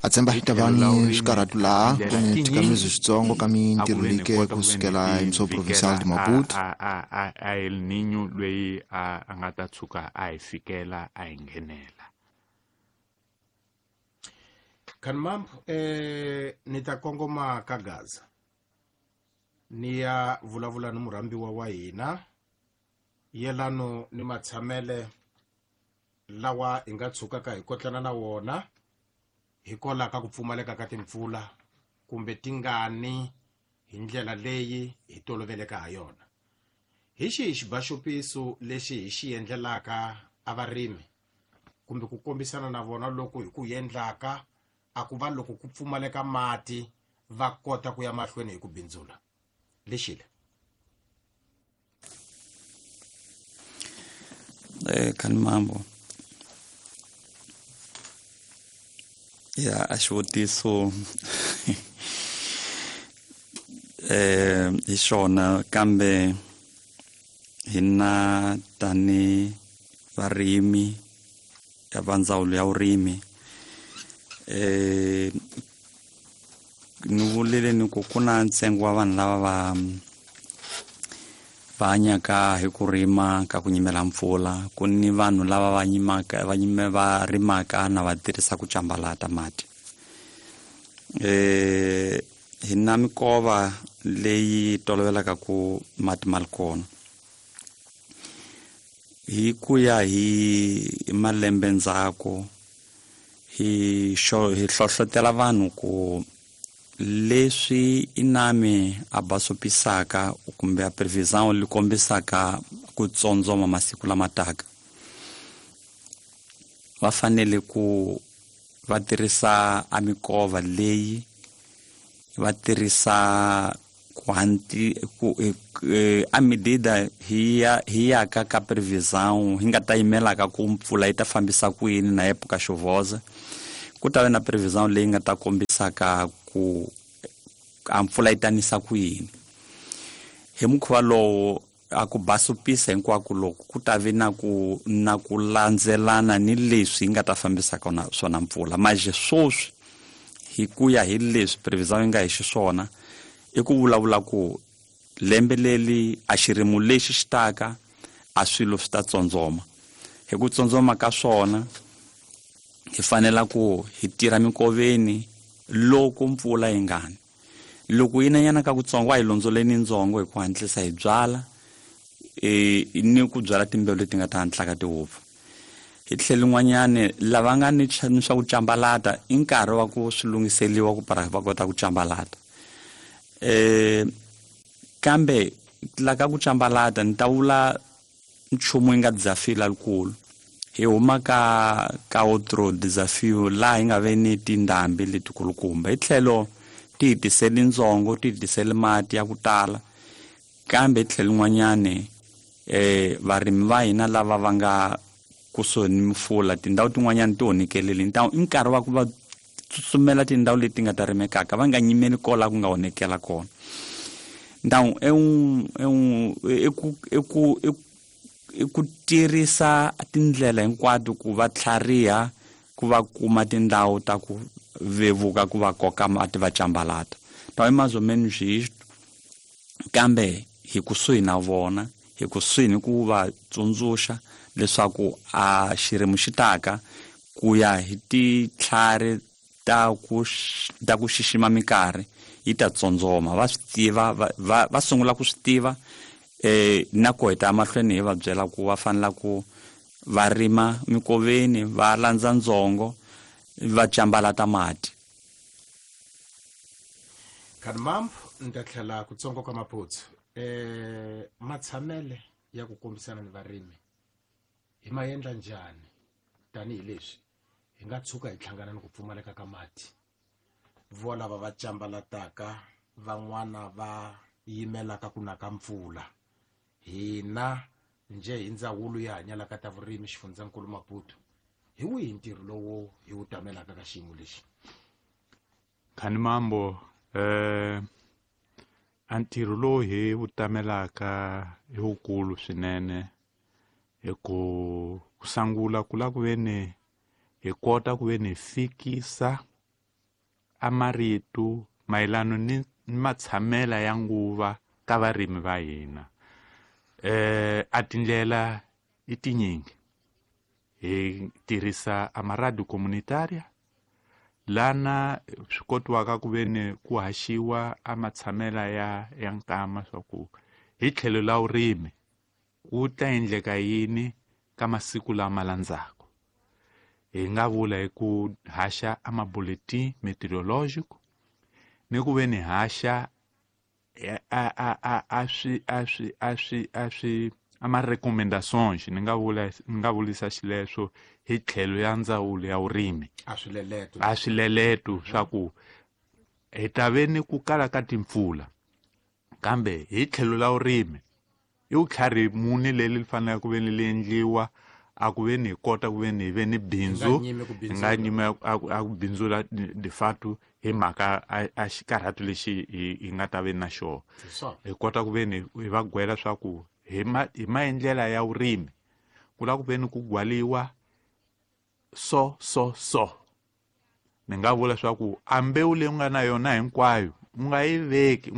A tshemba Hi hi ta va tlhelo la ni vurimi swikarhatu a laha ku tindlela ni tinyingi thikamezo switsongo ka a ku mintirho ve ni leyi ke kota ku ve ni kusukela ti hi muso provincial vhikela de a Maputo. a a a a El Niño lweyi a nga ta tshuka a hi fikela a hi nghenela. Khanimambo, ni ta kongoma ka Gaza ni ya vulavula ni murhambiwa wa hina yelano ni matshamele lawa hi nga tshukaka hi kotlana na wona hikwalaho ka ku pfumaleka ka timpfula kumbe tingani hi ndlela leyi hi toloveleka ha yona. Hi xihi xibaxopiso lexi hi xi endlelaka a varimi kumbe ku kombisana na vona loko hi ku endlaka a ku va loko ku pfumaleka mati va kota ku ya mahlweni hi ku bindzula lexile? Khanimambo, ya a xivutiso hi xona, kambe hina tani varimi ya va ndzawulo ya vurimi, ni vulile ni ku ku na ntsengo wa vanhu lava va hanyaka hi ku rima ka ku nyimela mpfula, ku ni vanhu lava va nyimaka, va nyime, va rimaka na va tirhisa ku cambalata mati. Hi na mikova leyi tolovelaka ku mati ma ri kona. Hi ku ya hi malembe ndzhaku, hi hlohlotela vanhu ku leswi inami a basopisaka kumbe a previsão li kombisaka ku tsondzoma masiku lama taka, va fanele ku va tirhisa a mikova leyi, va tirhisa ku hanti, ku, a medida hi ya, hi ya ka ka previsão hi nga ta yimelaka ku mpfula yi ta fambisa ku yini na época chuvosa, ku ta va na previsão leyi nga ta kombisaka ku a mpfula yi ta nisa ku yini. Hi mukhuva lowo a ku basopisa hinkwako loko ku ta vi na ku, na ku landzelana ni leswi yi nga ta fambisaka swona mpfula. Manje sweswi hi ku ya hi leswi previsão yi nga hi xiswona, i ku vulavula ku lembe leri a xirimo lexi xi taka a swilo swi ta tsondzoma. Hi ku tsondzoma ka swona hi fanela ku hi tirha mikoveni loko mpfula yi nga ni. Loko yi nanyana ka kutsongo, a hi londzoleni ndzongo hi ku hatlisa hi byala, ni ku byala timbewu leti nga ta hatlaka ti wupfa. Hi tlhelo rin'wanyani, lava nga ni ni swa ku cambalata, i nkarhi wa ku swi lunghiseliwa ku para va kota ku cambalata. Kambe la ka ku cambalata ni ta vula nchumu yi nga desafio lalikulu. Hi huma ka outro desafio laha hi nga ve ni tindhambi letikulukumba. Hi tlhelo ti hi tiseli ndzongo, ti hi tiseli mati ya ku tala, kambe hi tlhelo rin'wanyani, varimi va hina lava va nga kusuhi ni mifula, tindhawu tin'wanyani ti onhekelile. I nkarhi wa ku va tsutsumela tindhawu leti nga ta rimekaka, va nga nyimeli kola ku nga onhekela kona. Ndhawu i ku tirhisa tindlela hinkwato ku va tlhariha, ku va kuma tindhawu ta ku vevuka, ku va koka mati va cambalata. Então é mais ou menos isto, kambe hi kusuhi na vona, hi kusuhi ni ku va tsundzuxa leswaku a xirimo xi taka ku ya hi titlhari ta ku xixima minkarhi yi ta tsondzoma. Va swi tiva, va sungula ku swi tiva, na ku heta mahlweni hi va byela ku va fanela ku va rima mikoveni, va landza ndzongo, va cambalata mati. Khanimambo, ni ta tlhela kutsongo ka Maphutsu. Matshamele ya ku kombisana ni varimi hi ma endla njhani tanihileswi hi nga tshuka hi hlangana ni ku pfumaleka ka mati? Vo lava va cambalataka, van'wana va yimelaka ku na ka mpfula. Hina njhe hi ndzawulo ya hanyalaka ta vurimi xifundzankulu Maputo, hi wihi ntirho lowu hi wu tamelaka ka xiyimo lexi? Khanimambo, a ntirho lowu hi wu tamelaka i wukulu swinene, hi ku sungula ku lava ku ve ni hi kota ku ve ni fikisa a marito mayelana ni matshamela ya nguva ka varimi va hina. A tindlela i tinyingi. Hi tirhisa a maradio comunitaria lana swi kotiwaka ku veni ku haxiwa a matshamela ya nkama swa ku hi tlhelo la vurimi ku ta endleka yini ka masiku lama landzaka. Hi nga vula hi ku haxa a mabuletin meteorológico ni ku veni haxa a swi a swi a swi a swi ama recommendations ni nga vulisa xileswo hi tlhelo ya ndzawulo ya vurimi a swileleto swa ku hi ta ve ni ku kala ka timpfula kambe hi tlhelo la vurimi i vutlhari muni leri faneleke ku ve ni li endliwa a ku ve ni hi kota ku ve ni hi ve ni bindzu hi nga nyimi a ku bindzula de fato hi mhaka a xikarhato lexi hi nga ta ve na xona. Hi kota ku ve ni hi va gwela swa ku hi maendlela ya vurimi ku lava ku ve ni ku gwaliwa so so so. Ni nga vula swa ku a mbewu leyi u nga na yona hinkwayo u nga yi veki u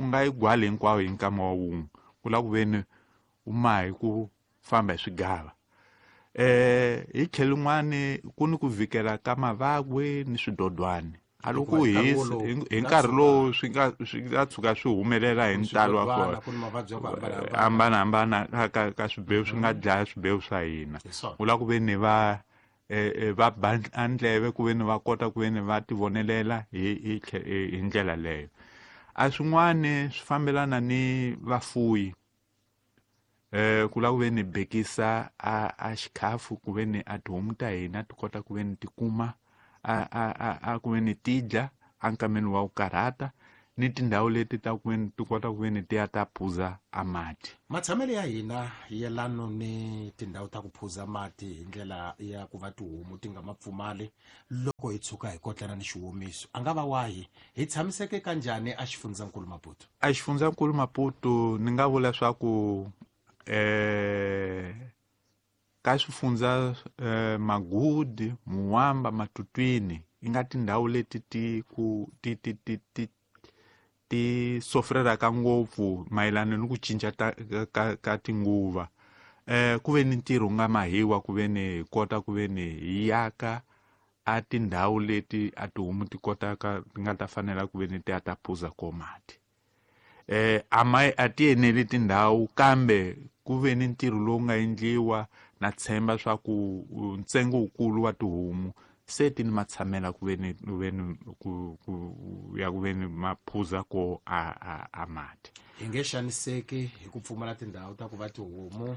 nga yi gwali hinkwayo hi nkama wa wun'we. Ku lava ku ve ni u ma hi ku famba hi swigava. Hi tlhelo rin'wani ku ni ku vikela ka mavagwe ni swidodwani. A loko hisa hi nkarhi lowu swi nga tshuka swi humelela hi ntalo wa kona hambanahambana ka swibewu swi nga dlaya swibewu swa hina. U lava ku ve ni va ba ndleve ku ve ni va kota ku ve ni va tivonelela hi ndlela leyo. A swin'wani swi fambelana ni vafuyi. Ku lava ku ve ni bekisa a xikhafu ku ve ni a tihomu ta hina ti kota ku ve ni ti kuma a ku ve ni ti dya enkameni wa ku karhata ni tindhawu leti ta ku ve ni ti kota ku ve ni ti ya ta phuza a mati. Matshamelo ya hina yelano ni tindhawu ta ku phuza mati hi ndlela ya ku va tihomu ti nga ma pfumali loko hi tshuka hi kotlana ni xiwomiso a nga va wahi hi tshamiseke kanjhani a xifundzankulu Maputo? A xifundzankulu Maputo ni nga vula swa ku ka swifundza Magudi, Muwamba, Matutwini i nga tindhawu leti ti ku ti ti ti ti ti sofrelaka ngopfu mayelana ni ku cinca ka tinguva. Ku ve ni ntirho nga mahiwa ku ve ni hi kota ku ve ni hi yaka a tindhawu leti a tihomu ti kotaka ti nga ta fanela ku ve ni ti ya ta phuza ko mati. A ti eneli tindhawu kambe ku ve ni ntirho lowu nga endliwa na tshemba swa ku ntsengo wukulu wa tihomu se ti ni matshamela ku ve ni ku ya ku ve ni maphuza ko a mati. Hi nge xaniseki hi ku pfumala tindhawu ta ku va tihomu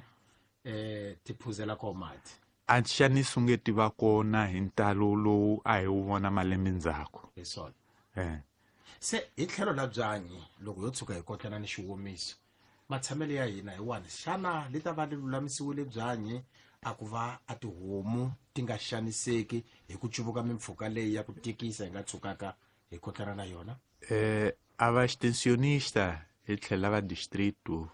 ti phuzela ko mati. A xaniso nge ti va kona hi ntalo lowu a hi wu vona malembe ndzhaku. Hi swona. Se hi tlhelo la byanyi loko yo tshuka hi kotlana ni xiwomiso matshamelo ya hina hi wani xana li ta va li lulamisiwile byanyi a ku va a tihomu ti nga xaniseki hi ku cuvuka mimpfhuka leyi ya ku tikisa hi nga tshukaka hi kotlana na yona? A va extensionista hi tlhela va distrito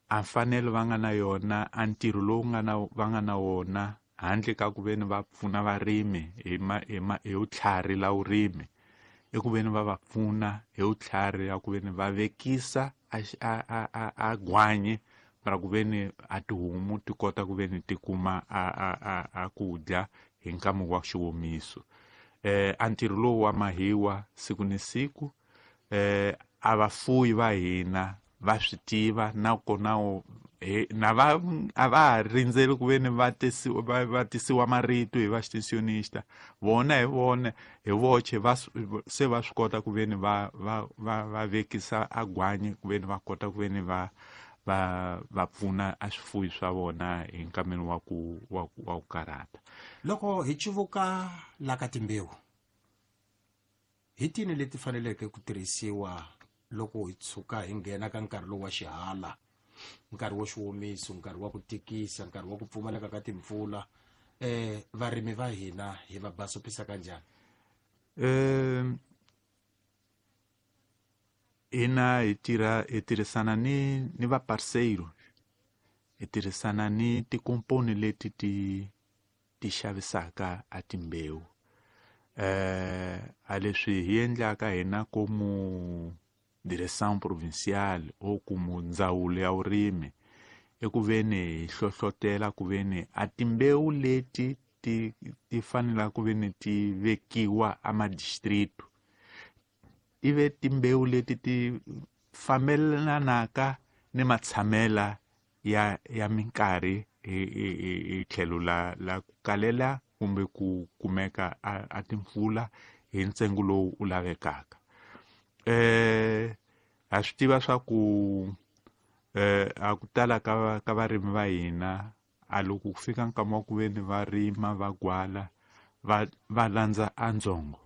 a mfanelo va nga na yona a ntirho lowu va nga na wona handle ka ku ve ni va pfuna varimi hi vutlhari la vurimi i ku ve ni va va pfuna hi vutlhari ya ku ve ni va vekisa a gwanye mara ku ve ni a tihomu ti kota ku ve ni ti kuma a ku dya hi nkama wa xiwomiso. A ntirho lowu wa mahiwa siku ni siku a vafuyi va hina va swi tiva nakona na va a va rindzeli ku ve ni va tisiwa marito hi va extensionista vona hi vona hi voxe va se va swi kota ku ve ni va vekisa a gwanyi ku ve ni va kota ku ve ni va pfuna a swifuyi swa vona hi nkameni wa ku karhata. Loko hi cuvuka la ka timbewu hi tini leti faneleke ku tirhisiwa loko hi tshuka hi nghena ka nkarhi lowu wa xihala, nkarhi wa xiwomiso, nkarhi wa ku tikisa, nkarhi wa ku pfumaleka ka timpfula, varimi va hina hi va basopisa kanjhani? Hina hi tirhisana ni va parceiro, hi tirhisana ni tikomponi leti ti xavisaka a timbewu. A leswi hi endlaka hina como direção provincial ou como ndzawulo ya vurimi i ku veni hi hlohlotela ku veni a timbewu leti ti fanelaka ku veni ti vekiwa a madistrict ti ve timbewu leti ti fambelanaka ni matshamela ya minkarhi hi tlhelo la ku kalela kumbe ku kumeka a timpfula hi ntsengo lowu u lavekaka. Ha swi tiva swa ku a ku tala ka varimi va hina a loko ku fika nkama wa ku veni va rima va gwala va landza a ndzongo.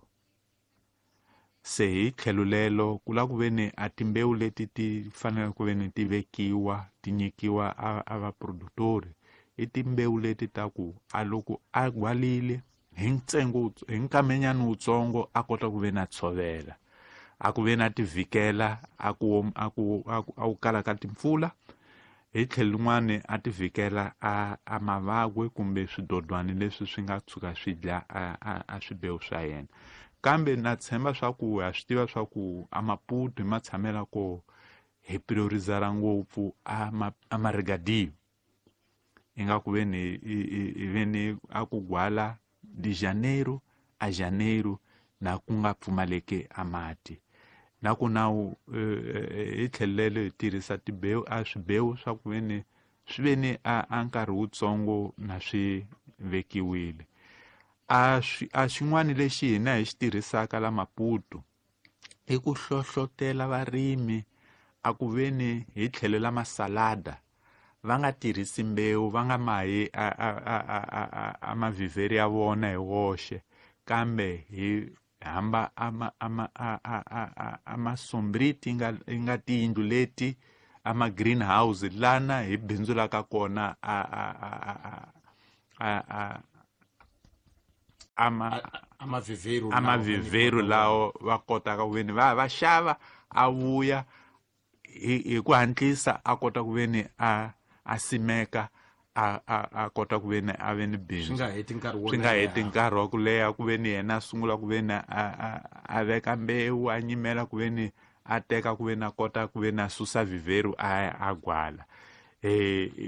Se hi tlhelo lelo ku lava ku veni a timbewu leti ti fanele ku veni ti vekiwa ti nyikiwa a vaproductori i timbewu leti ta ku a loko a gwalile hi ntsengo hi nkamenyana wutsongo a kota ku veni a tshovela, a ku veni a ti vhikela a ku kala ka timpfula, hi tlhelo rin'wani a ti vhikela a mavagwe kumbe swidodwani leswi swi nga tshuka swi dya a swibewu swa yena. Kambe na tshemba swa ku ha swi tiva swa ku a Maputo hi matshamela ko hi priorizara ngopfu a marigadio, ingaku veni hi veni a ku gwala de janeiro a janeiro na ku nga pfumaleki a mati. Na ku nawu hi tlhelelo hi tirhisa tibewu a swibewu swa ku veni swi veni a nkarhi wutsongo na swi vekiwile. A xin'wana lexi hina hi xi tirhisaka la Maputo i ku hlohlotela varimi a ku veni hi tlhelo la masalada va nga tirhisi mbewu, va nga mahi a mavhivheri ya vona hi woxe, kambe hi hamba a masombriti nga tiyindlu leti a ma greenhouse lana hi bindzulaka kona a mavhivheri lawo va kotaka ku veni va xava a vuya hi ku hatlisa a kota ku veni a simeka a kota ku veni a ve ni bindzu. Swi nga heti nkarhi wa ku leha ku veni yena a sungula ku veni a veka mbewu a nyimela ku veni a teka ku veni a kota ku veni a susa vhivheri a gwala.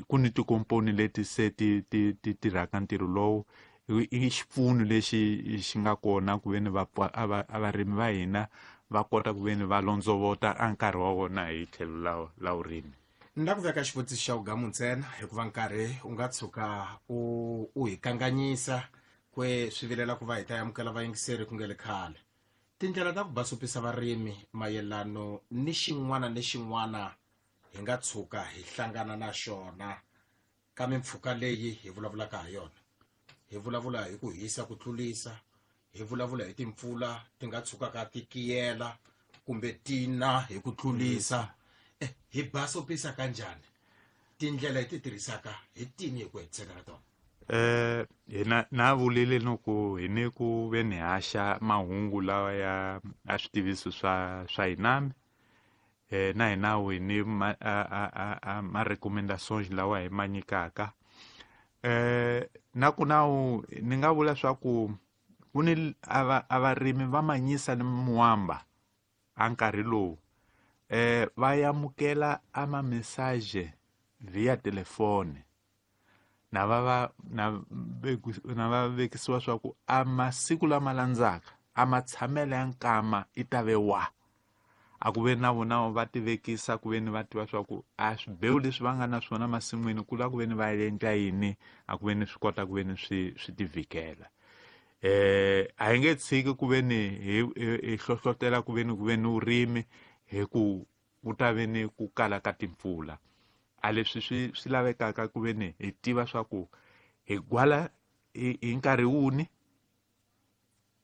Ku ni tikomponi leti se ti tirhaka ntirho lowu i xipfuno lexi xi nga kona ku veni varimi va hina va kota ku veni va londzovota a nkarhi wa vona hi tlhelo la vurimi. Ni la ku veka xivutiso xa wugamu ntsena hikuva nkarhi u nga tshuka u hi kanganyisa kwe swi vilela ku va hi ta amukela vayingiseri ku nge le khale. Tindlela ta ku basopisa varimi mayelano ni xin'wana ni xin'wana hi nga tshuka hi hlangana na xona ka mimpfhuka leyi hi vulavulaka ha yona. Hi vulavula hi ku hisa ku tlulisa, hi vulavula hi timpfula ti nga tshukaka ti kiyela kumbe tina hi ku tlulisa. Hi basopisa kanjhani? Tindlela hi ti tirhisaka hi tini hi ku hetiseka ka tona? Hina na vulile loko hi ni ku ve ni haxa mahungu lawa ya a switiviso swa hina na hina hi ni ma recommendations lawa hi ma nyikaka. Na ku nawu ni nga vula swa ku ku ni a varimi va manyisa ni muamba a nkarhi lowu va amukela a ma message via telefone na va vekisiwa swa ku a masiku lama landzaka a matshamelo ya nkama i ta ve wa a ku ve na vona va tivekisa ku ve ni va tiva swa ku a swibewu leswi va nga na swona masin'wini ku lava ku ve ni va endla yini a ku ve ni swi kota ku ve ni swi tivikela. A hi nge tshiki ku ve ni hi hlohlotela ku ve ni vurimi hi ku ku ta ve ni ku kala ka timpfula. A leswi swi lavekaka ku ve ni hi tiva swa ku hi gwala hi nkarhi wuni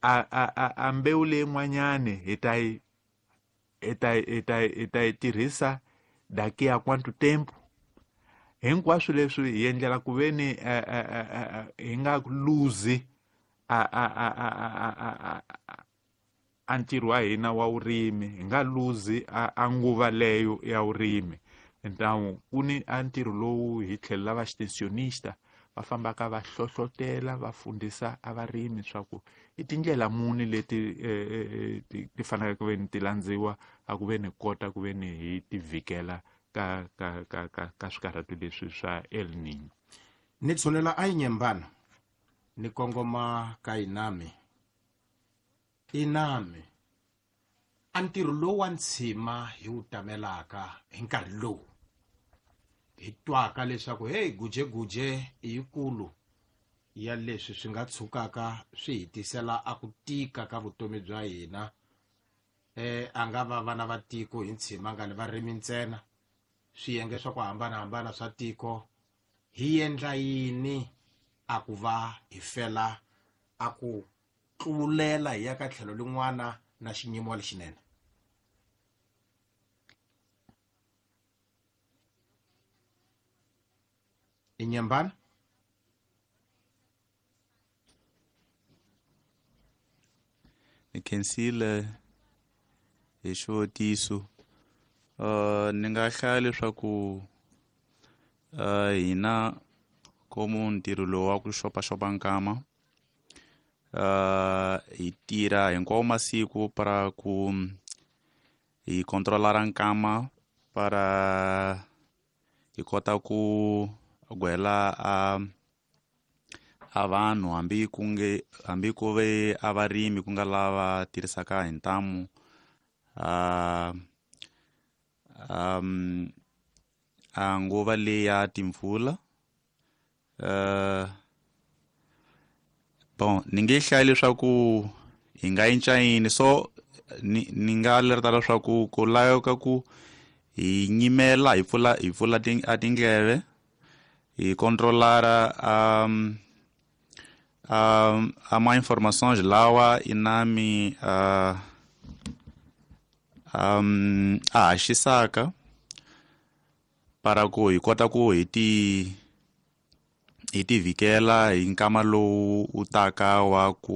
a mbewu leyin'wanyani hi ta yi hi ta yi tirhisa daqui a quanto tempo. Hinkwaswo leswi hi endlela ku ve ni hi nga luzi a ntirho wa hina wa vurimi, hi nga luzi a nguva leyo ya vurimi. Então ku ni a ntirho lowu hi tlhelo la va extensionista Va fambaka va hlohlotela va fundisa a varimi swa ku i tindlela muni leti ti faneleke ku ve ni ti landziwa a ku ve ni kota ku ve ni hi ti vhikela ka ka ka ka ka swikarhato leswi swa El Nino. Ni tshunela a Inyembana ni kongoma ka Inami. Inami a ntirho lowu wa ntshima hi wu tamelaka hi nkarhi lowu hi twaka leswaku hey, gujeguje i yikulu ya leswi swi nga tshukaka swi hi tisela a ku tika ka vutomi bya hina. A nga va vana va tiko hi ntshima nga ni varimi ntsena, swiyenge swa ku hambanahambana swa tiko, hi endla yini a ku va hi fela a ku tlulela hi ya ka tlhelo lin'wana na xiyimo lexinene? Inyembana. Ni khensile hi xivutiso. Ni nga hlaya leswaku hina komu ntirho lowu wa ku xopaxopa nkama, hi tirha hinkwawo masiku para ku hi controlara nkama para hi kota ku gwela a vanhu hambi ku nge hambi ku ve a varimi ku nga lava tirhisaka hi ntamu a nguva leyi ya timpfula. Bon, ni nge hlayi leswaku hi nga cinca yini, so ni nga lereta leswaku ku laveka ku hi nyimela hi pfula hi pfula a tindleve, hi controlara a ma informações lawa Inami a haxisaka para ku hi kota ku hi ti vhikela hi nkama lowu wu taka wa ku